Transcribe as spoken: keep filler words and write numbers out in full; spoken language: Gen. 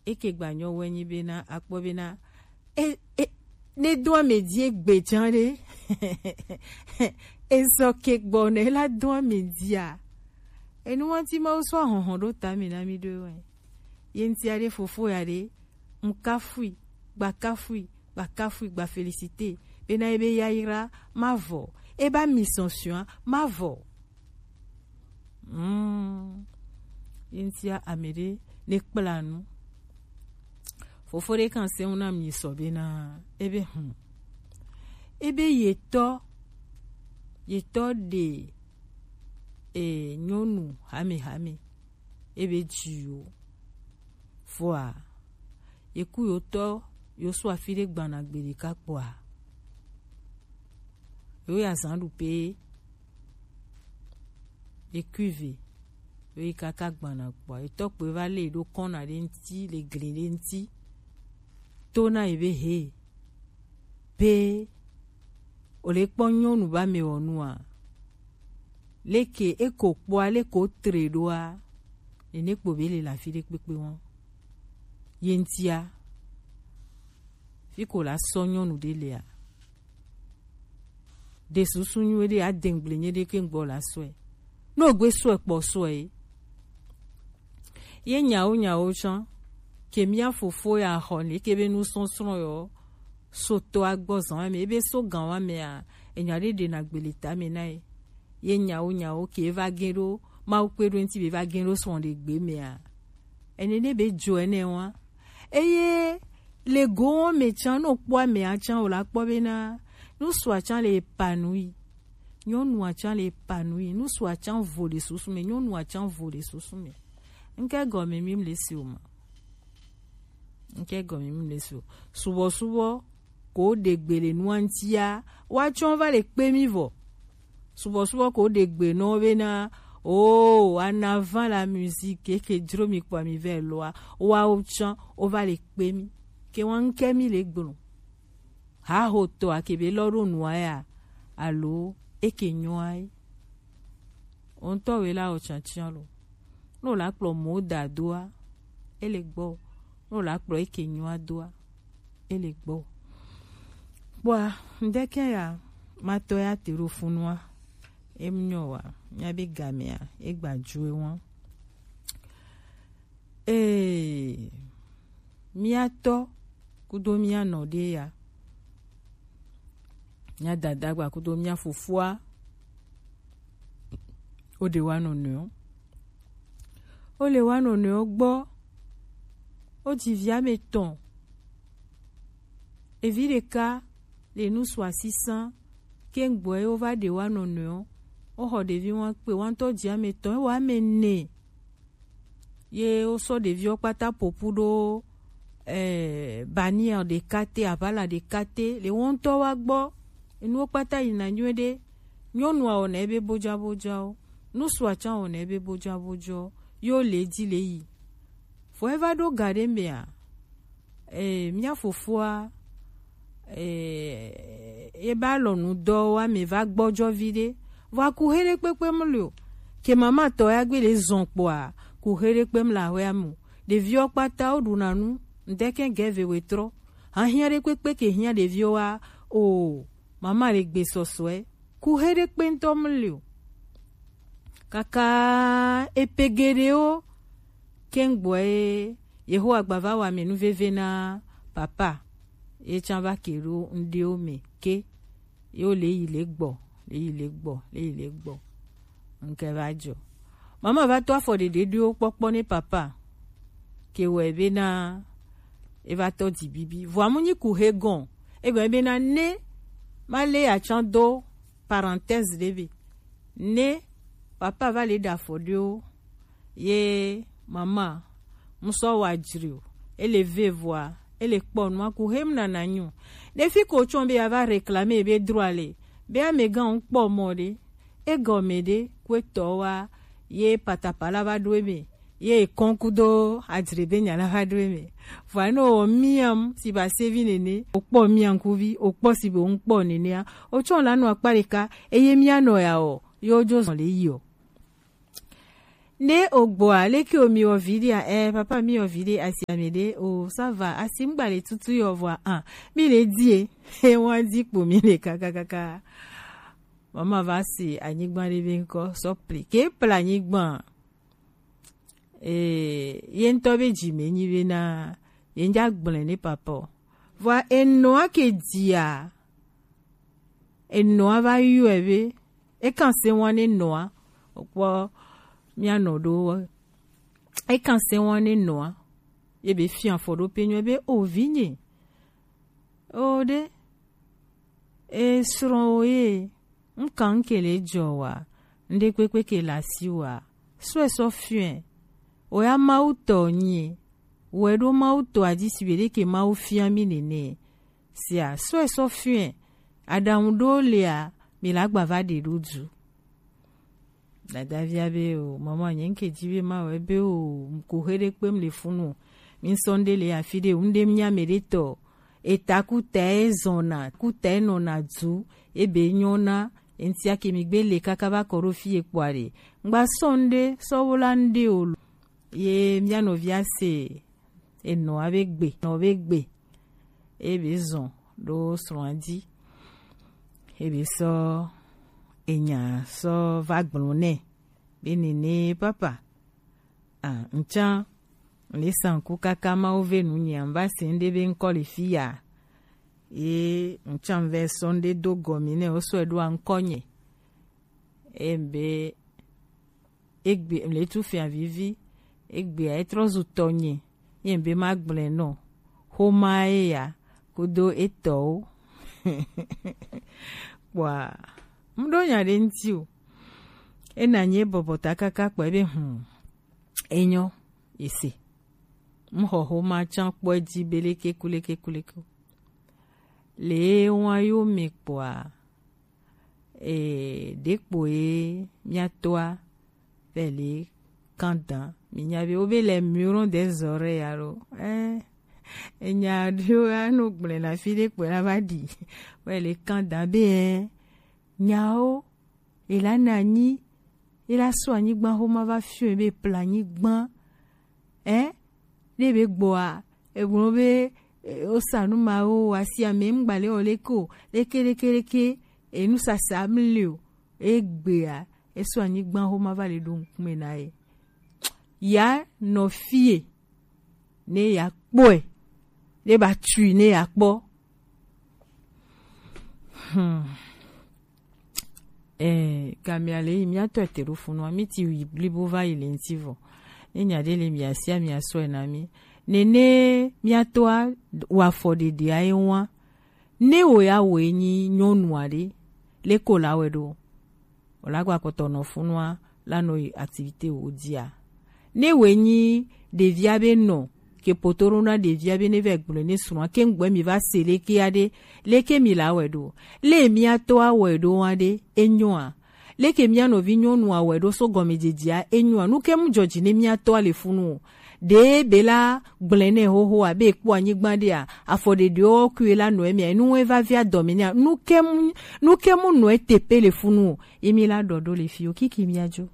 Eke gba nyɔ wɛ nyi bena akpɔ bena e e ne do ame di egbe jan ɖe. Ezɔ ke gbɔ ne la do ame dia. Enu wanti ma wo sɔ ahɔhɔn ɖo ta mi na mi ɖo wɛ. Ye ŋuti aɖe fofo ya ɖe, ŋkafui, gbakafui, gbakafui, gba félicité. Bena ebe yayra ma vɔ, eba mi sɔnsɔn ma vɔ. Mm. Ye ŋutia ame ɖe ne kpla nu. Fofo ɖe kan se ŋu na mi sɔ bena ebe hmm. Ebe yetɔ, yetɔ ɖe e nyɔnu hamehame ebe ji yo. Vɔa, yeku yotɔ yo sɔ afi ɖe gbana gbe ɖeka kpɔa, yo ya zan ɖu pe ekuive yo yi kaka gbana kpɔa, etɔ kpoe va lé ɖo kɔna ɖe ŋuti le gli ɖe ŋuti to na yi be he pe o le kpɔ nyɔnu ba me wɔ nua? Leke eko kpɔa, leke o tre ɖoa? Nene kpo be le le afi ɖe kpekpe wɔn. Ye ŋutia, fi ko la sɔ nyɔnu ɖe lea? Ɖe susu nyuie ɖe adengble nye ɖe ke ŋgbɔ la sɔe. No gbe sɔe kpɔ sɔe. Ye nyawo nyawo tsã, ke mía fofo ya xɔ ne ke be nusɔsrɔ̃ yɔ so to agbɔ zan wa me, ebe so gan wa mea, enya ɖe ɖe na gbele ta me na ye. Ye nyawo nyawo ke va gẽ ɖo Mawu kpe ɖo ŋuti be va gẽ ɖo srɔ̃ ɖe gbe mea. Ene ne be dzo ene wa. Eye le go wɔn me tsã, no kpɔ amea tsã o la kpɔ bena nusua tsã le épanoui. Nyɔnua tsã le épanoui. Nusua tsã vo le susu me. Nyɔnua tsã vo le susu me. Ŋke gɔme mi le si o ma. Ŋke gɔme mi le si o. Subɔsubɔ ko ɖe gbe le nua ŋutia, wa tsɔ va le kpe mi vɔ. Subɔsubɔ ko ɖe gbe nɔ bena, oh, en avant la musique, ke ke dzro mi kpɔ mi vɛ lɔa, wa o tsã o va le kpe mi. Ke wa ŋke mi le gblɔ. Haho tɔ a ke be lɔ ɖo nua ya, alo e ke nyɔa ye. O ŋutɔ we la o tsã tsã lo. No la kplɔ mo da doa, e le gbɔ. No la kplɔ e ke nyɔa doa, e le gbɔ. Kpɔa, ŋdeke ya, ma tɔ ya te ɖo funua, e mu nyɔ wa, mía be gamea, e gba ju e wɔn. Ee, mía tɔ kudo mía nɔ ɖe ya. Mía dada gba kudo mía fofoa. O ɖe wa nɔnɔewo. O le wa nɔnɔewo gbɔ. O ji vi ame tɔn. Evi ɖeka le nusu asisan. Ke ŋgbɔ ye wo va ɖe wa nɔnɔewo. O xɔ ɖevi wa kpe wa ŋutɔ ji ame tɔn. E wa ame ne. Ye wo sɔ ɖeviwo kpata popu ɖo, eh, bannière ɖeka te, aʋala ɖeka te, le wo ŋutɔ wa gbɔ. Enuwo kpata yina nyuie ɖe. Nyɔnua wɔna ebe bojabojawo, nusua tsã wɔna ebe bojabojawo, ye wo le edzi le yi. Vɔ eva ɖo ga ɖe mea, eh, mía fofoa, eh, ebe alɔnu dɔ wa me va gbɔjɔ viɖe. Vɔ aku he ɖe kpekpe mu le o. Ke mama tɔ ya gbe le zɔn kpɔa, ku he ɖe kpe mu le ahɔa me o. Ɖeviwo kpata wo ɖuna nu, ŋdeke gɛ ve wetrɔ. Hahiã ɖe kpekpe ke hiã ɖeviwo wa o, mama le gbe sɔsɔe. Ku he ɖe kpe ŋutɔ mu le o. Kaka epe geɖewo, ke ŋgbɔ ye Yehowa gba va wa me nuveve na papa, ye tsã va ke ɖo ŋɖewo me ke, ye wo le yi le gbɔ, le yi le gbɔ, le yi le gbɔ. Ŋke va jɔ. Mama va to afɔ ɖeɖe ɖowo kpɔkpɔ ne papa, ke wɔ ebe na e va tɔ di bibi. Vɔa mu nyi ku he gɔn, e gɔn ebe na ne ma le atsã do parenthèse ɖe be. Ne papa va le ɖe afɔ ɖewo, ye mama, mu sɔ wa jri o, e le ve vɔa, e le kpɔ nua ku hem nana nyu. Ne fi ko tsɔ be ya va réclamer be droit le, be amegã ŋu kpɔ mɔ ɖe, e gɔme ɖe, ku etɔ wa, ye patapala va ɖo eme, ye ekɔn kudo ajre be nya la va ɖo eme. Vɔa ne o miam si ba sevi nene, o kpɔ miankuvi, o kpɔ si be o ŋu kpɔ nenea, o tsɔ la nɔ akpa ɖeka, eye mia nɔ ya o, ye o jo zɔn le yi o. Ne o gbɔa, leke o mi wɔ vi ɖe a? Eh, papa mi wɔ vi ɖe asi ame ɖe o, ça va, asi ŋgba le tutu yɔ vɔa, ah, mi le di e. He wa di kpo mi le kakakaka. Mama va si anyigba ɖe be ŋkɔ, sɔ pli. Ke pla anyigba. Eh, ye ŋutɔ be dzi me nyi be na, ye ŋdza gblẽ ne papa o. Vɔa enɔa ke dia, enɔa va yɔe be, ekan se wan ne nɔa, okpɔ mia nɔ ɖo, ekan se wan ne nɔa, ye be fia fɔ ɖo pe nyɔe be, o vi nye, o ɖe, e srɔ̃ wo ye, ŋkan ke le jɔ wa, ŋɖe kpekpe ke le asi wa, sɔe sɔ fiɔe, o ya Mawu tɔ nyi, wɛ ɖo Mawu tɔ adzi si be ɖe ke Mawu fia mi nene. Sia, sɔe sɔ fiɔe, aɖaŋu ɖo lea, mi la gba va ɖe ɖo du. Dadavia be o, mama nye ŋke dzi be ma wɛ be o, ko he ɖe kpem le funu. Mi sɔ ŋɖe le afi ɖe, ŋɖe mia me ɖe tɔ. Eta kuta e zɔna, kuta e nɔna du, ebe nyɔna, eŋtia ke mi gbe le kaka va kɔ ɖo fi ye kpɔa ɖe. Ŋgba sɔ ŋɖe, sɔ wo la ŋɖe o lo. Ye mia nɔvia se, enɔa be gbe, nɔ be gbe. Ebe zɔn ɖo srɔ̃a dzi. Ebe sɔ enya sɔ va gblɔ nɛ. Be nene papa. Ah, ŋtsan, le sanku kaka Mawu ve nu nyea, ŋva se ŋɖe be ŋkɔ le fi ya. Ye ŋtsan vɛ sɔ ŋɖe do gɔmi nɛ, wo sɔe ɖo aŋkɔ nye. Ebe egbe le tu fia vivi, egbea etrɔ zu tɔnye, ye be ma gblẽ nɔ, xoma ye ya, kudo etɔwo. Kpɔa, ŋɖo nya ɖe ŋti o. Ena nye bɔbɔ ta kaka kpɔe be, hmm, enyɔ, ese. Ŋxɔ xoma tsan kpɔe dzi be leke kuleke kuleke. Le wa yo me kpɔa, e, ɖekpo ye mia toa, vɛ le kan dan. Mi nya be, wo be les murons des oreilles alo. Eh, enya ɖewo ya no gblẽ na fi ɖe kpɔe la va ɖi. Vɛ le kan dan be, eh, nyawo, e la na anyi, e la sɔ anyigba xoma va fiɔe be pla anyigba. Eh, ne be gbɔa, egblɔ be, eh, wosa nu mawo, asi ame ŋgba le wɔ leke o, leke, leke, leke, enusasa mli o, egbea, esɔ anyigba xoma va le ɖo ŋkume na ye. Ya nɔ fie, ne ya kpɔe, ne ba tui, ne ya kpɔ. Hmm. Eh, gamia le yi mia tɔ ete ɖo funua, mi ti yi blibo va yi le ŋti vɔ. Ne nya ɖe le mia sia, mia sɔe na mi. Nene mia toa wa fɔ ɖeɖe a ye wa. Ne wo ya wo nyi nyɔnu a ɖe, le ko la wɛ ɖo. O la gba kpɔtɔ nɔ funua, la nɔ yi activité wo dia. Ne wo nyi ɖevia be nɔ, ke poto ɖo na ɖevia be ne vɛ gblɔ ne srɔ̃a, ke ŋgbɛ mi va se leke ya ɖe, leke mi la wɛ ɖo. Le mia to a wɛ ɖo wa ɖe, enyoa. Leke mia nɔvi nyɔnu a wɛ ɖo so gɔmedzedzea, enyoa. Nu ke mu dzɔdzi ne mia to a le funu o. Ɖe be la gblẽ nɛ xoxo abe ekpɔ anyigba ɖea, afɔ ɖeɖewo kui la nɔ emia, enu ŋue va via dɔme nɛa. Nu ke mu, nu ke mu nɔ etepe le funu o. Emi la ɖɔɖo le fi o, kiki mia dzo.